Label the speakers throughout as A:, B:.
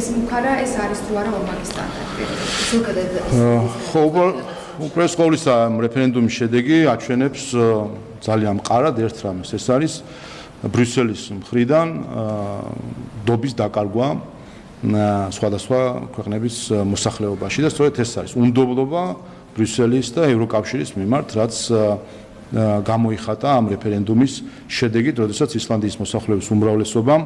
A: თვის მუქარა ეს არის თუ არა ორმაგი სტანდარტი.
B: უპირველეს ყოვლისა რეფერენდუმის შედეგი აჩვენებს ძალიან მყარად ერთ რამეს, ეს არის ბრიუსელის მხრიდან დობის დაკარგვა სხვადასხვა ქვეყნების მოსახლეობაში და სწორედ ეს არის უნდობლობა ბრიუსელის და ევროკავშირის მიმართ, რაც გამოიხატა ამ რეფერენდუმის შედეგით, როდესაც ისლანდიის მოსახლეობის უმრავლესობამ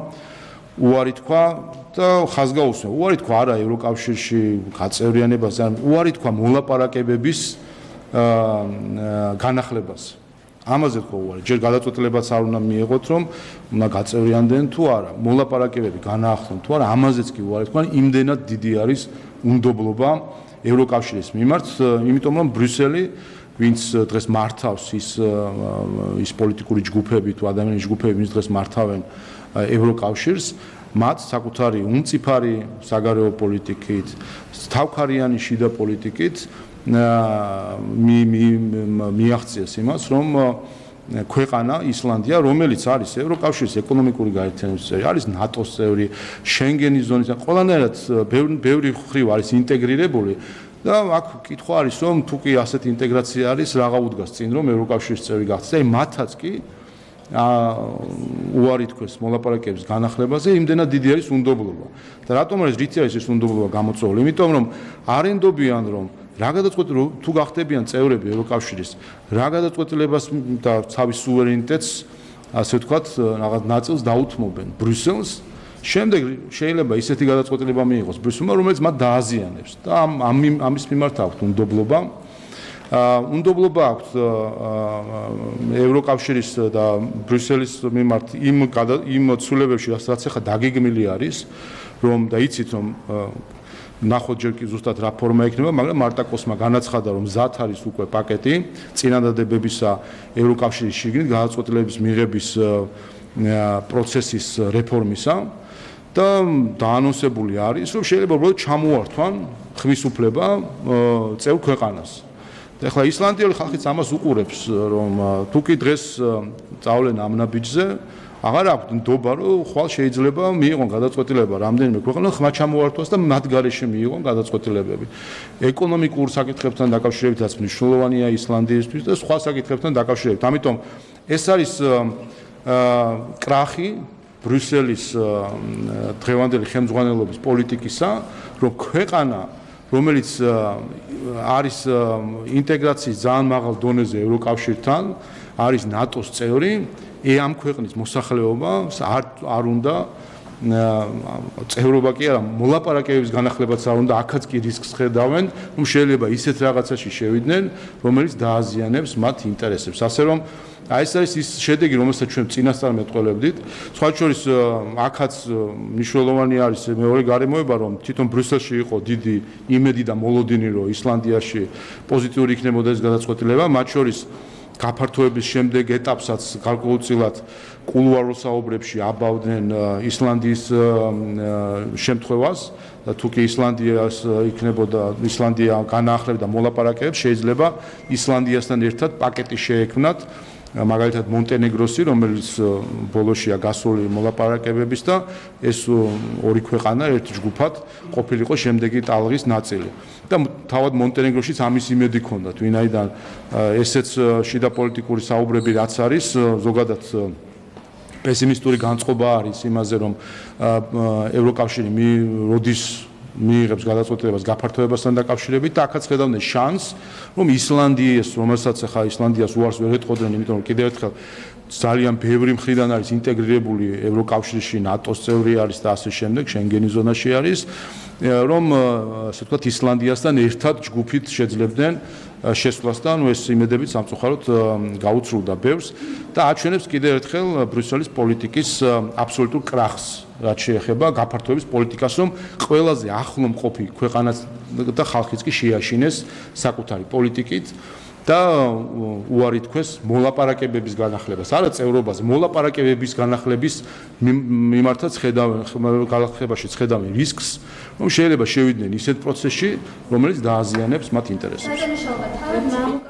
B: უარი თქვა და ხაზგაუსმენა. უარი თქვა არა ევროკავშირში გაწევრიანებას, უარი თქვა მოლაპარაკებების განახლებას. ამაზე თქვა უარი. ჯერ გადაწყვეტილებაც არ უნდა მიიღოთ, რომ უნდა გაწევრიანდნენ თუ არა, მოლაპარაკებები განაახლონ თუ არა, ამაზეც კი უარი თქვა, იმდენად დიდი არის უნდობლობა ევროკავშირის მიმართ, იმიტომ რომ ბრიუსელი ვინც დღეს მართავს ის პოლიტიკური ჯგუფები თუ ადამიანის ჯგუფები, ვინც დღეს მართავენ ევროკავშირს, მათ საკუთარი უმწიფარი საგარეო პოლიტიკით, თავქარიანი შიდა პოლიტიკით მიაღწიეს იმას, რომ ქვეყანა ისლანდია, რომელიც არის ევროკავშირის ეკონომიკური გაერთიანების წევრი, არის ნატოს წევრი, შენგენის ზონის, ყველანაირად ბევრი მხრივ არის ინტეგრირებული და აქ კითხვა არის, რომ თუ კი ასეთი ინტეგრაცია არის, რაღა უდგას წინ, რომ ევროკავშირის წევრი გახდეს. აი მათაც კი უარი თქვეს მოლაპარაკებების განახლებაზე, იმდენად დიდი არის უნდობლობა. და რატომ არის რითი არის ეს უნდობლობა გამოწვეული? იმიტომ რომ არ ენდობიან, რომ რა გადაწყვეტილებას თუ გახდებიან წევრები ევროკავშირის, რა გადაწყვეტილებას და თავის სუვერენიტეტს, ასე ვთქვათ, რაღაც ნაწილს დაუთმობენ ბრიუსელს. შემდეგ შეიძლება ისეთი გადაწყვეტილება მიიღოს ბრიუსელმა, რომელიც მათ დააზიანებს და ამის მიმართ აქვთ უნდობლობა. უნდობლობა აქვთ ევროკავშირის და ბრიუსელის მიმართ იმ ცვლილებებში, რაც ახლა დაგეგმილი არის, რომ და იცით რომ ნახოთ ჯერ კი ზუსტად რა ფორმა იქნება, მაგრამ მარტაკოსმა განაცხადა, რომ მზად არის უკვე პაკეტი წინადადებებისა ევროკავშირის შიგნით გადაწყვეტილების მიღების პროცესის რეფორმისა და დაანონსებული არის, რომ შეიძლება უბრალოდ ჩამოართვან ხმის უფლება წევრ ქვეყანას. ეხლა ისლანდიელი ხალხიც ამას უყურებს, რომ თუ კი დღეს წავლენ ამ ნაბიჯზე, აღარ აქვთ ნდობა, რომ ხვალ შეიძლება მიიღონ გადაწყვეტილება რამდენიმე ქვეყანამ ხმა ჩამოართვას და მათ გარეშე მიიღონ გადაწყვეტილებები. ეკონომიკურ საკითხებთან დაკავშირებითაც მნიშვნელოვანია ისლანდიისთვის და სხვა საკითხებთან დაკავშირებით. ამიტომ ეს არის კრახი ბრიუსელის დღევანდელი ხელმძღვანელობის პოლიტიკისა, რომ ქვეყანა რომელიც არის ინტეგრაციის ძალიან მაღალ დონეზე ევროკავშირთან, არის ნატოს წევრი, ამ ქვეყნის მოსახლეობა არ უნდა წევრობა კი არა, მოლაპარაკებების განახლებაც არ უნდა, აქაც კი რისკს ხედავენ, რომ შეიძლება ისეთ რაღაცაში შევიდნენ, რომელიც დააზიანებს მათ ინტერესებს. ასე რომ აი ეს არის ის შედეგი, რომელსაც ჩვენ წინასწარ მეტყველებდით. სხვა შორის აქაც მნიშვნელოვანი არის მეორე გარემოება, რომ თვითონ ბრიუსელში იყო დიდი იმედი და მოლოდინი, რომ ისლანდიაში პოზიტიური იქნებოდა ეს გადაწყვეტილება, მათ შორის გაფართოების შემდეგ ეტაპსაც გარკვეულწილად კულუარულ საუბრებში აბავდნენ ისლანდიის შემთხვევას და თუ კი ისლანდია განაახლებდა მოლაპარაკებებს, შეიძლება ისლანდიასთან ერთად პაკეტი შეექმნათ, მაგალითად მონტენეგროსი, რომელიც ბოლოშია გასული მოლაპარაკებების და ეს ორი ქვეყანა ერთ ჯგუფად ყოფილიყო შემდეგი ტალღის ნაწილი. და თავად მონტენეგროშიც ამის იმედი ჰქონდათ, ვინაიდან ესეც შიდა პოლიტიკური საუბრები რაც არის, ზოგადად პესიმისტური განწყობა არის იმაზე, რომ ევროკავშირი როდის მიიღებს გადაწყვეტილებას გაფართოებასთან დაკავშირებით და აქაც ხედავდნენ შანსს, რომ ისლანდიას, რომელსაც ახლა ისლანდიას უარს ვერ ეტყოდნენ, იმიტომ რომ კიდევ ერთხელ ძალიან ბევრი მხრიდან არის ინტეგრირებული ევროკავშირში, ნატოს წევრი არის და ასე შემდეგ, შენგენის ზონაში არის, რომ ასე ვთქვათ ისლანდიასთან ერთად ჯგუფით შეძლებდნენ შესვლას და ეს იმედებით სამწუხაროდ გაუცრულდა ბევრს და აჩვენებს კიდევ ერთხელ ბრიუსელის პოლიტიკის აბსოლუტურ კრახს, რაც შეეხება გაფართოების პოლიტიკას, რომ ყველაზე ახლო მყოფი ქვეყანაც და ხალხიც კი შეაშინეს საკუთარი პოლიტიკით და უარი თქვეს მოლაპარაკებების განახლებას, არა წევრობაზე, მოლაპარაკებების განახლების მიმართაც ხედავენ რისკს, რომ შეიძლება შევიდნენ ისეთ პროცესში, რომელიც დააზიანებს მათ ინტერესებს.